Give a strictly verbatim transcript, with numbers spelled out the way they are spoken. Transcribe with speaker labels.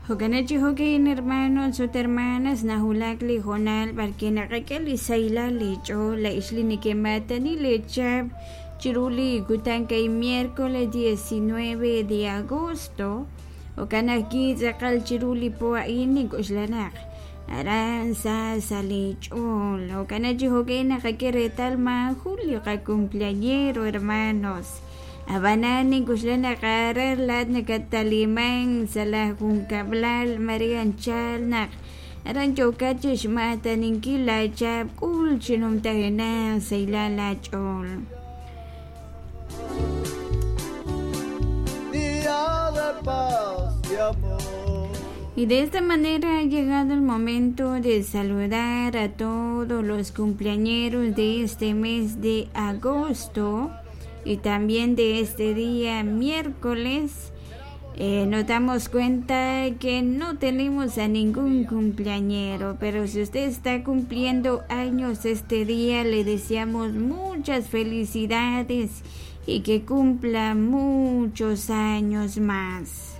Speaker 1: Jo'kan chi jo'kan, hermanos ut hermanas, nahulak li hoonal b'arwi' naqak'e li sahilal li ch'ool laa'ex li nekemaatani leechap chiru li kutan kay miércoles diecinueve de agosto. Jo'kan ajwi' tz'aqal chiru li po a'in nink'oxla naq aran sa sa li ch'ool. Jo'kan chi jo'kan naqak'e reetal maajun li qacumpleañero, hermanos. Ab'anan nink'oxla naq aran laat nakataliman sa' la junkab'lal Maria anchal naq aran yookat chixmaataninkil laachap k'ul chi numtajenaq sahilal laach'ool.
Speaker 2: Día de paz y amor.
Speaker 1: Y de esta manera ha llegado el momento de saludar a todos los cumpleañeros de este mes de agosto y también de este día miércoles. Eh, nos damos cuenta que no tenemos a ningún cumpleañero, pero si usted está cumpliendo años este día, le deseamos muchas felicidades y que cumpla muchos años más.